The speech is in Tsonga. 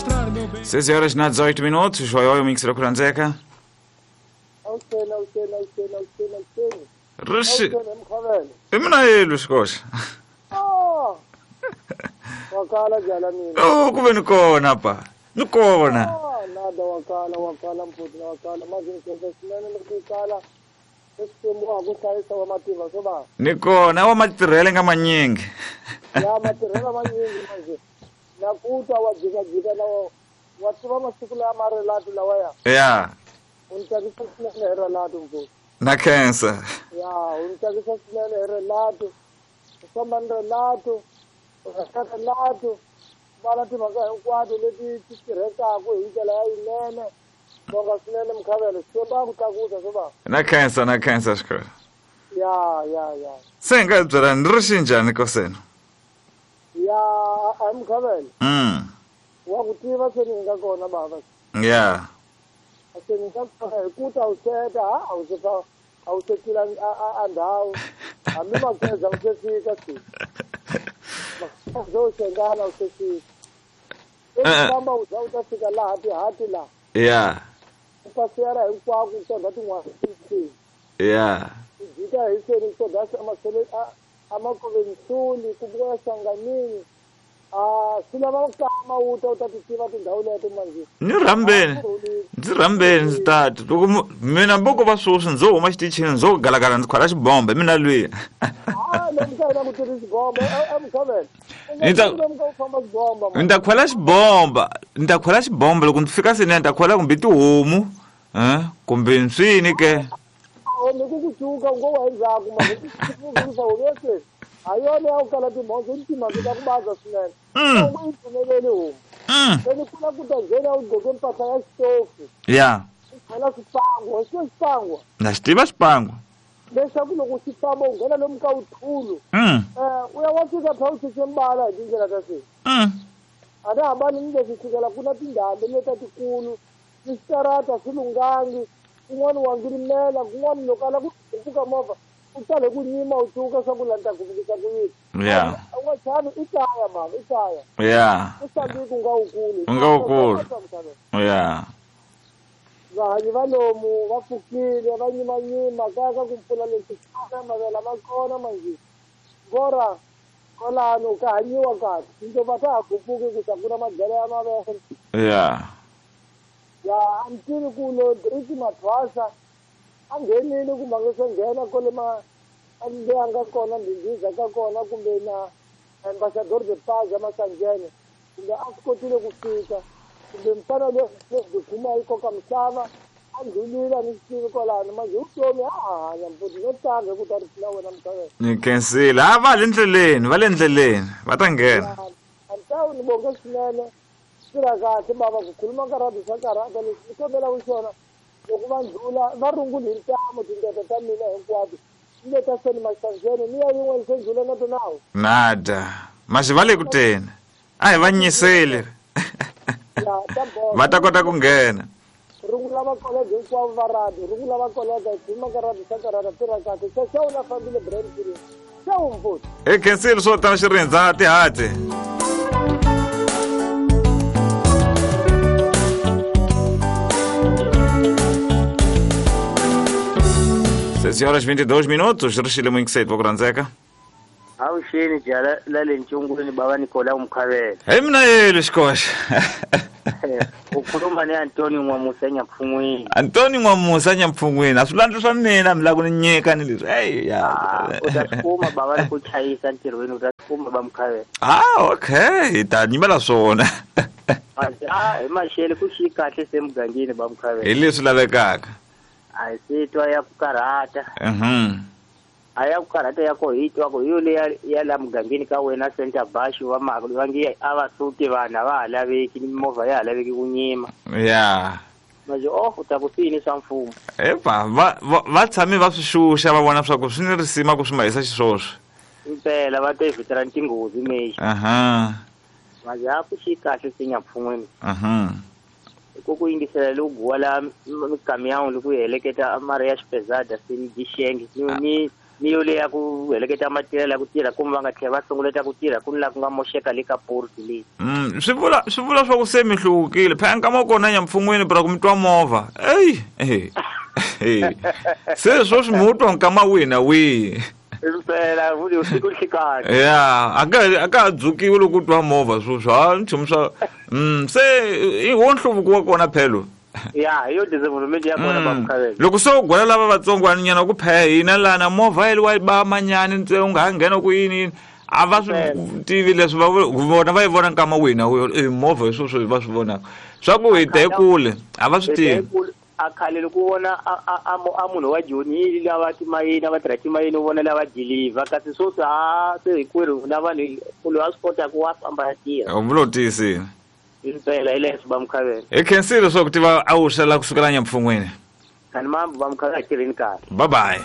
mostrar meu bem. 6 horas na 18 minutos. Oi, oi, mix Kuranzeka. Rishi. Emna yelu xikoxa. Ah. Wakala jala mina. Oh, kuve ni kona pa. Ni kona. Ah, nada wakala wakala mfuthi wakala manje ngikwenza sinene lokukala. Xikwembu a ku hlayisa wa mativa swo ba. Ni kona wa matirhele nga manyingi. Ya matirhela manyingi manje. Na kuta wa jika jika na wa tiva masiku lama marelatu lawa ya. Ya. U ni tsakisa swinene hi relatu mfuthi. Na khensa. Ya, u ni tsakisa swinene hi relatu. U famba ni relatu. U rheka relatu. Vala timhaka hinkwato leti ti tirhekaka hi ndlela ya yinene. Bonga swinene mkhavelo, Xikwembu a ku tlakusa swo ba. Na khensa, na khensa xikoxa. Ya, ya, ya. Se nga byela ni ri xinjhani kosena? Ya, a mkhavelo. Wa ku tiva se ni nga kona baba. Ya. Se ni nga kona hi ku ta u seta, ha a wu se fa a wu se tlula a ndhawu. Hambi makweza u se fika se. Makweza u xengana u se fika. Famba u za u ta fika laha tihati laha. Ya. U pasiyara hinkwako ku tondha tin'wana ti. Ya. U jika hi seni ku tondha amasele a makoveni ku vuya hlanganini. A swi lava ku kama u ta u ta ti tiva tindhawu leto manje. Ni rhambeni. Ndzi rhambeni ndzi tata. Loko mina mboko va sweswi ndzo huma xitichini ndzo galagala ndzi khwala xibombe mina lwiya. Ah, lomu ka hina ku tirhi xibombe emkhavelo. Ni ta khwela xibomba, ni ta khwela xibomba loko ndzi fika seni ni ta khwela kumbe tihomu, kumbe nswini ke. Ni ku ku cuka ngo wa endzhaku manje ku humese. A yona ya ku kala timhondzo ni timhaka ta ku baza swinene. U yi pfumeleli homu. Se ni kula ku ta nghena u gqoke mpahla ya xitofu. Ya. U khwela swipango, xi xipango. Na xi tiva xipango. Leswaku loko xi famba u nghena lomu ka wuthulu. U ya wa fika pha u cince mbala hi tindlela ta se. A na hambani ni leswi sukela ku na tindhambi leta tikulu, ni switarata swi lunghangi, kun'wana wa ngirimela, kun'wana loko a lava ku pfuka movha u tale ku nyima u cuka swa ku la ni ta guvukisa ku yini. Ya. U nga chavi i kaya mama, i kaya. Ya. U sambiki u nga wukulu. U nga wukulu. Ya. Vahanyi va lomu va pfukile va nyimanyima kaya ka ku mpfula leswi kona mavele ma kona manje. Ngora kwalano ka hanyiwa kahle tindlova ta ha gupfuki ku ta ku na madyelo ya mavele. Ya. Ya a ni tivi ku lo Driki Mathwasa a nghenile kumbe a nge se nghena kwale ma leyi a nga kona ndhindhiza ka kona kumbe na Ambassador de Paz ya Masanjene kumbe a swi kotile ku fika kumbe mfana loyi kuma yi koka misava a ndlulile a ni swi tivi kwalano manje vutomi a hanya mfuthi no tlanga hi ku ta ri na wena mkhavelo. Ni khensile. A va le ndleleni, va le ndleleni, va ta nghena. A ni ta ni bonge swinene tirha kahle bava ku khuluma ka radio swa karhata leswi ni kombelaka xona loko va ndlula va runguli hi ntamu tindlela ta mina hinkwato ni le ta seni Masanjene ni ya yin'wana se ndlula na tonawu. Nada. Maxi va le ku teni. A hi va nyiseli. Va ta kota ku nghena. Rungula va kolega hinkwavo va radio, rungula va kolega hi khuluma ka radio swa karhata tirha kahle. Xa u la fambile brain free. Xa u mfuthi. Hi khensile swo tala xirindza tihati. 6 horas 22 minutos, rixile mwingiseti wa ku rhandzeka. Avuxeni jala la le ntshungwini bava Nicola Mkhavela. Hi mina yelo xikoxa. U khuluma ni Antoni N'wamusa Nyampfungwini. Antoni N'wamusa Nyampfungwini, a swi landza swa mina mi lava ku ni nyika ni leswi. Hey ya. U ta swi kuma bava loko chayisa ntirhweni u ta swi kuma ba Mkhavela. Ah, okay, hi ta nyimela swona. Ah, hi maxele ku xi kahle se mugangeni ba Mkhavela. Hi leswi lavekaka. A hi se twa ya ku karhata. A ya ku karhata ya ko hi twa ku hi yo leya ya la mugangeni ka wena Center Bash va va nge a va suki vanhu a va ha laveki mimovha ya ha laveki ku nyima. Ya. Manje oh u ta ku swi yini swa mfumo. Epa va tshame va swi xuxa va vona swa ku swi ni risima ku swi mahisa xiswoswo. Impela va ta evhitela tinghozi mexi. Manje a ku xi kahle se Nyampfungwini. Ku ku yingisela loko guwa la mikamiyawu loko yi heleketa mari ya xipezada se ni dixenge ni Ni yo leya ku heleketa matirhela ku tirha kumbe va nga tlhela va sunguleta ku tirha ku ni laha ku nga moxeka le ka porti leyi. Swi vula swa ku se mi hluvukile phela nkama wa kona nyamfungwini pra ku mi twa movha eyi se sweswi mi wu twa nkama wihi na wihi. Impela vuli usiku nhlikani. Ya a ka ha dzukiwi loko u twa movha sweswi ha nchumu swa se i wo nhluvuko wa kona phelo. Ya hi yo development ya kona bamkhavela. Loko se u gwela lava vatsongwaninyana ku phaya hina lana movha yi wa ba manyani ntsena u nga ha nghena ku yini yini a va swi tivi leswi va vona va yi vona nkama wihi na wihi movha hi sweswo va swi vonaka swa ku hi te kule a va swi tivi. A khale loko u vona a munhu wa Joni lava timayini va tirha timayini u vona lava deliver kasi sweswi a se hinkwerhu na vanhu ku loyi a swi kotaka wa famba ya tirha. U vula u tiyisile. Impela hi leswi bamkhavela. Hi khensile swa ku tiva a wu xela kusukela nyampfungwini. Kani mambo bamkhavela tirheni kahle. Bye bye.